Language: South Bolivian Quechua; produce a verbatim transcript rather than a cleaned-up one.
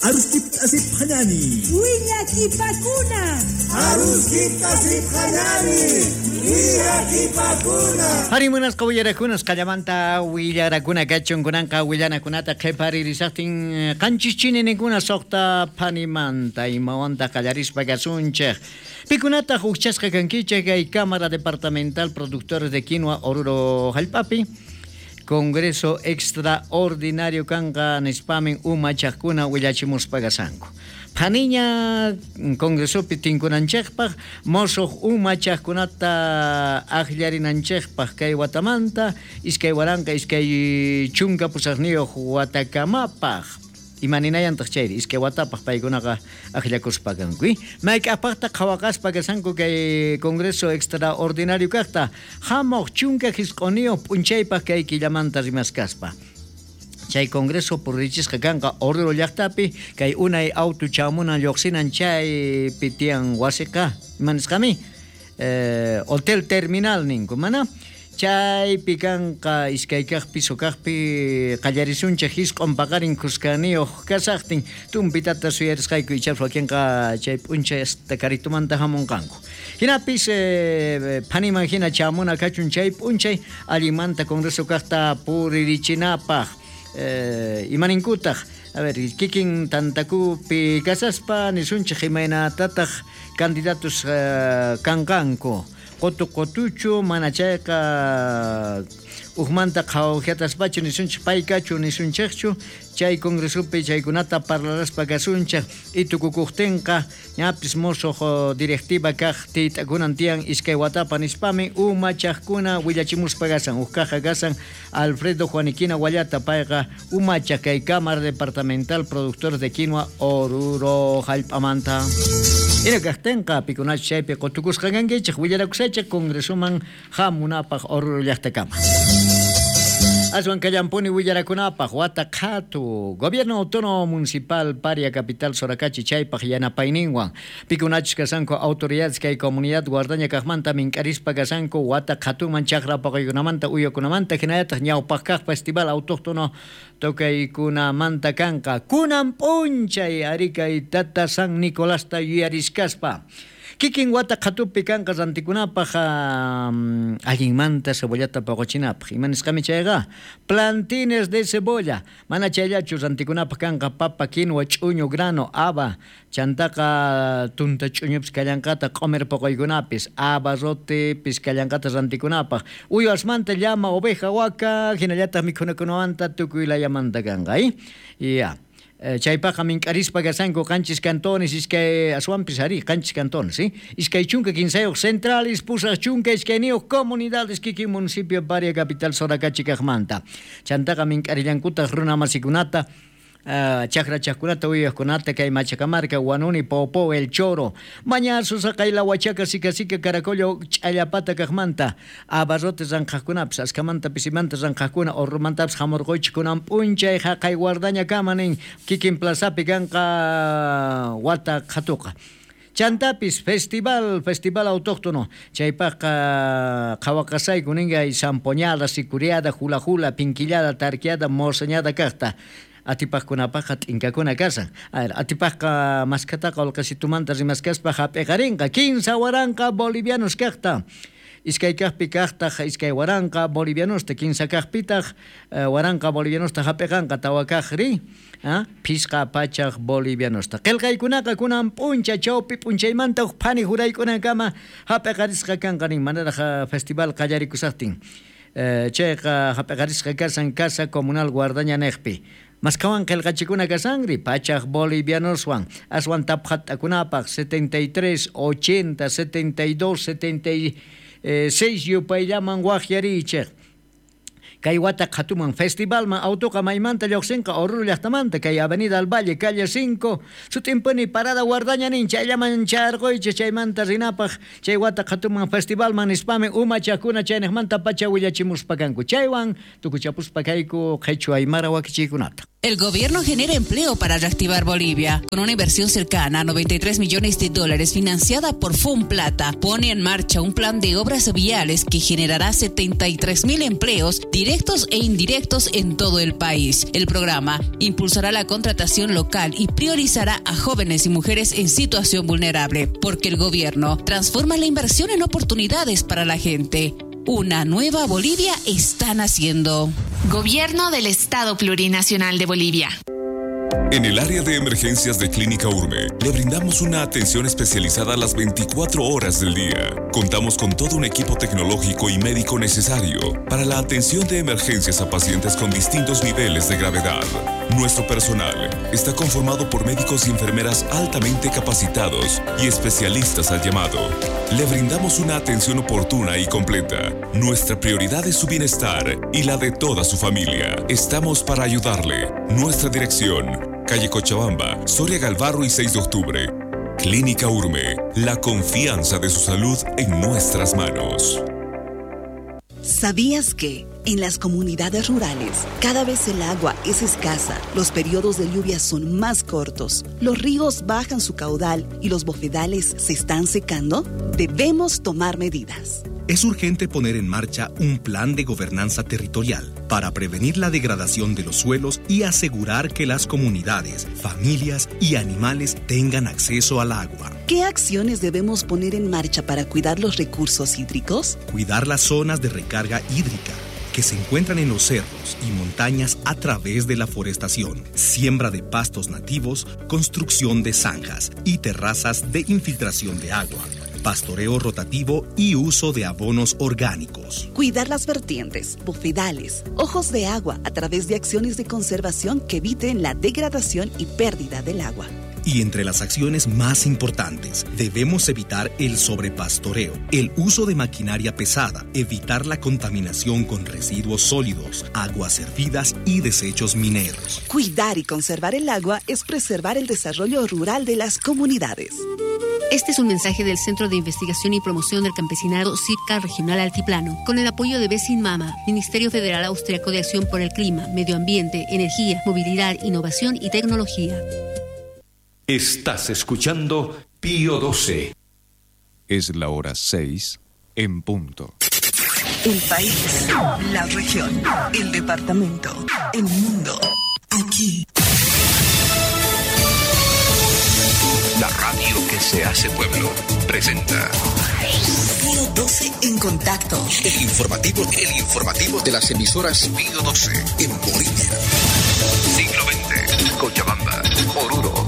Aruskipta asipqañani. Willakipakuna. Aruskipta asipqañani. Willakipakuna. Harimunasqa willarakunas qallamanta willarakuna kachun kunanqa willanakunata qhiparirisaqtin qanchis chininikuna suqta phanimanta imawanta qallarispa kasunchik. Pikunataq hukchasqa kankichik kay Cámara Departamental Productores de Quinoa Oruro hallp'api. Congreso Extraordinario kanqa nispamin umachaqkuna willachimuspa kasanku. Phaniña Congresopi tinkunanchikpaq mosuq umachaqkunata akllarinanchikpaq kay watamanta iskay waranqa iskay chunka pusaqniyuq watakamapaq. Imaninayantaq chayri iskay watapaq paykunaqa akllakuspa kanku. Mayk'apaqta qhawaqaspa kasanku kay Congreso Extraordinario kaqta hamuq chunka hisq'uniyuq p'unchaypaq kay killamanta rimaskaspa. Chay Congreso purichisqa kanqa Oruro llaqtapi kay unay auto chamunan lluqsinan chaypi tiyan wasiqa imanisqami eh, Hotel Terminal ninku mana chaypi kanqa iskay kaq piso kaqpi qallarisunchik hisq'un paqarin kuskaniyuq kasaqtin tumpitata suyarisqayku ichapas wakinqa chay p'unchay hasta karitumanta hamunqanku. Hinapis eh, phaniman hina chamuna kachun chay p'unchay allinmanta Congreso kaqta puririchinapaq. Eh, imaninkutaq a ver kikin tantakupi kasaspa nisunchik imaynatataq candidatos eh, kanqanku qutu qutuchu mana chayqa ujmanta qhawjiataspachu nisunchik paykachu nisunchikchu chay congresopi chaykunata parlaraspa kasunchik itukukuqtinqa ñapis musuq directiva kaq tiyt'akunan tiyan iskay watapa nispami umachaqkuna willachimuspa kasan uj kaqqa kasan Alfredo Juaniquina Wallata payqa umachaq kay Cámara Departamental Productores de Quinoa Oruro hallp'amanta. Ina kaqtinqa pikunachu chaypi qutukusqa kankichik willarakusaychik congresoman hamunapaq Oruro llaqtakama. Aswan kallampuni willarakunapaq wata qhatu Gobierno Autónomo Municipal Paria Capital Soracachi chaypaq yanapayninwan pikunachus kasanku autoridades kay comunidad guardaña kaqmanta mink'arispa kasanku wata qhatuman chaqra paqaykunamanta uywakunamanta hinallataq ñawpaq kaq festival autóctono tokaykunamanta kanqa kunan p'unchay ari kay tata San Nicolasta yuyariskaspa. Kikin wata qhatupi kanqa rantikunapaq um, allinmanta cebollata paqochinapaq. Imanisqami chayqa plantines de cebolla. Mana chayllachu rantikunapaq kanqa papa, quinoa, ch'uñu, grano, haba, chantaqa tunta ch'uñupis kallanqata q'umir paqoykunapis, abarrotepis kallanqata rantikunapaq. Uywasmanta llama, oveja, waka, hinallataq mikhunakunamanta tukuy layamanta kanqa, eh? Ya. Chaypaqqa mink'arispa kasanku qanchis cantones iskay aswanpis ari qanchis cantones, ¿sí? Iskay chunka kinsayuq centrales pusaq chunka iskayniyuq comunidades kikin municipio Paria Capital Soracachi kaqmanta. Chantaqa mink'arillankutaq runa masikunata Uh, chakra chakkunata uywaqkunata kay Machacamarca, Huanuni, Popo, El Choro, Mañazo, Saqayla, Huachaca, Sica Sica, Caracollo, Ch'allapata kaqmanta, abarrotes ranqhaqkunapis, askamanta pisimanta ranqhaqkuna, orrumantapis hamurquychik kunan p'unchay haqay guardaña kama nin kikin plazapi kanqa wata qhatuqa. Chantapis festival, festival autóctono, chaypaqqa qhawaqasayku ninkay zampoñada, sicuriada, hula hula, pinquillada, tarqueada, morseñada kaqta. Atipaqkunapaqqa t'inkakuna kasan. A ver, atipaqqa maskataqa ulqasitumanta rimaskaspa hap'iqarinqa kinsa waranqa bolivianos kaqta. Iskay kaqpi kaqtaq iskay waranqa bolivianosta, kinsa kaqpitaq waranqa bolivianosta hap'iqanqa tawa kaqri, ah, phisqa pachaq bolivianosta. Qillqaykunaqa kunan p'uncha chawpi p'unchaymanta huk phani juraykunankama hap'iqarisqa kanqa nin manaraq festival qallarikusaqtin. Eh, chayqa hap'iqarisqa kasan Casa Comunal Guardaña niqpi. Maskawan qillqachikuna kasangri pachaq bolivianoswan aswan taphat'akunapaq setenta y tres, ochenta, setenta y dos, setenta y seis yupayllaman waqyarichik. Kay wata qhatuman festivalman autoqa maymanta lluqsinqa Oruro llaqtamanta kay Avenida al Valle calle cinco sut'impuni parada guardaña nin chayllaman charquychik chaymanta rinapaq chay wata qhatuman festivalman nispami umachaqkuna chayniqmanta pacha willachimuspa kanku chaywan tukuchapuspa kayku qhichwa aymara wakichiykunata. El gobierno genera empleo para reactivar Bolivia. Con una inversión cercana a noventa y tres millones de dólares financiada por FONPLATA, pone en marcha un plan de obras viales que generará setenta y tres mil empleos directos e indirectos en todo el país. El programa impulsará la contratación local y priorizará a jóvenes y mujeres en situación vulnerable, porque el gobierno transforma la inversión en oportunidades para la gente. Una nueva Bolivia está naciendo. Gobierno del Estado Plurinacional de Bolivia. En el área de emergencias de Clínica Urme, le brindamos una atención especializada a las veinticuatro horas del día. Contamos con todo un equipo tecnológico y médico necesario para la atención de emergencias a pacientes con distintos niveles de gravedad. Nuestro personal está conformado por médicos y enfermeras altamente capacitados y especialistas al llamado. Le brindamos una atención oportuna y completa. Nuestra prioridad es su bienestar y la de toda su familia. Estamos para ayudarle. Nuestra dirección: calle Cochabamba, Soria Galvarro y seis de octubre. Clínica Urme, la confianza de su salud en nuestras manos. ¿Sabías que en las comunidades rurales cada vez el agua es escasa, los periodos de lluvia son más cortos, los ríos bajan su caudal y los bofedales se están secando? Debemos tomar medidas. Es urgente poner en marcha un plan de gobernanza territorial para prevenir la degradación de los suelos y asegurar que las comunidades, familias y animales tengan acceso al agua. ¿Qué acciones debemos poner en marcha para cuidar los recursos hídricos? Cuidar las zonas de recarga hídrica que se encuentran en los cerros y montañas a través de la forestación, siembra de pastos nativos, construcción de zanjas y terrazas de infiltración de agua, pastoreo rotativo y uso de abonos orgánicos. Cuidar las vertientes, bofedales, ojos de agua a través de acciones de conservación que eviten la degradación y pérdida del agua. Y entre las acciones más importantes, debemos evitar el sobrepastoreo, el uso de maquinaria pesada, evitar la contaminación con residuos sólidos, aguas servidas y desechos mineros. Cuidar y conservar el agua es preservar el desarrollo rural de las comunidades. Este es un mensaje del Centro de Investigación y Promoción del Campesinado CIPCA Regional Altiplano, con el apoyo de Besin Mama, Ministerio Federal Austriaco de Acción por el Clima, Medio Ambiente, Energía, Movilidad, Innovación y Tecnología. Estás escuchando Pío doce. Es la hora seis en punto. El país, la región, el departamento, el mundo. Aquí. La radio que se hace pueblo presenta Pío doce en contacto. El informativo, el informativo de las emisoras Pío doce en Bolivia. Siglo veinte, Cochabamba, Oruro,